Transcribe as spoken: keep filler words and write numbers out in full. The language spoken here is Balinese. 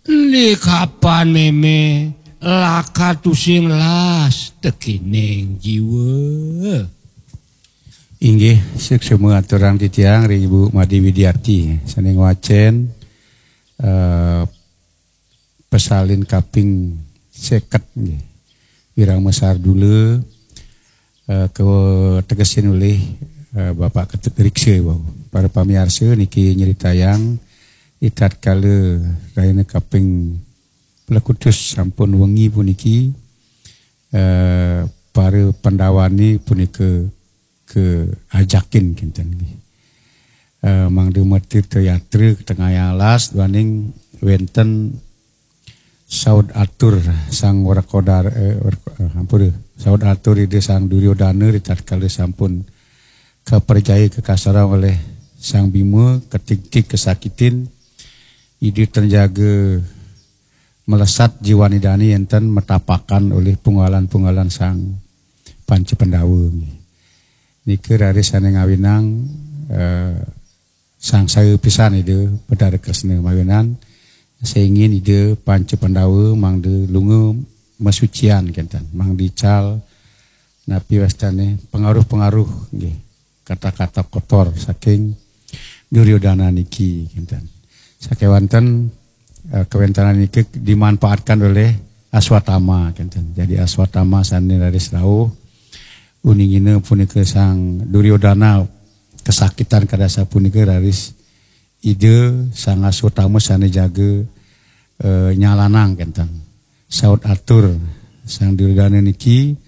Di kapan mémé laka tusing las tekining jiwa. Inggih, suksma aturang titiang ring Ibu Made Widiarti sané ngwacén eh, pesalin kaping seket nggih. Wirang Mesar Dula eh, kategesin olih eh, Bapak Ketut Riksa wau. Para pamiarsa niki nyritayang di tatkala rahina kaping plekutus sampun wengi puniki eh, para Pandawané punika kaajakin kinten nggih. Eh, mangda matirta yatra katengahang alas duaning wénten saud atur sang Wrekodara eh, Wreko- eh, ampura, saud atur Ida Sang Duryodana ritatkala sampun kaprajaya kakasarang oleh Sang Bima, katigtig kasakitin, Ida tan jaga melesat jiwan Idané yén tan matapakan olih punggalan-punggalan Sang Panca Pandawa nggih. Nika raris sané ngawinang eh, sangsaya pisan Ida Betara Kresna mawinan sengin Ida Panca Pandawa mangda lunga masucian kinten, mangda ical napi wastané pengaruh-pengaruh nggih, kata-kata kotor saking Duryodana niki kinten. Sakéwanten eh, kawéntenan niki dimanfaatkan oleh Aswatama kinten. Jadi Aswatama sané raris rauh uningina punika Sang Duryodana kasakitan kadasa punika raris Ida Sang Aswatama sané jaga eh, nyalanang kinten. Saud atur Sang Duryodana niki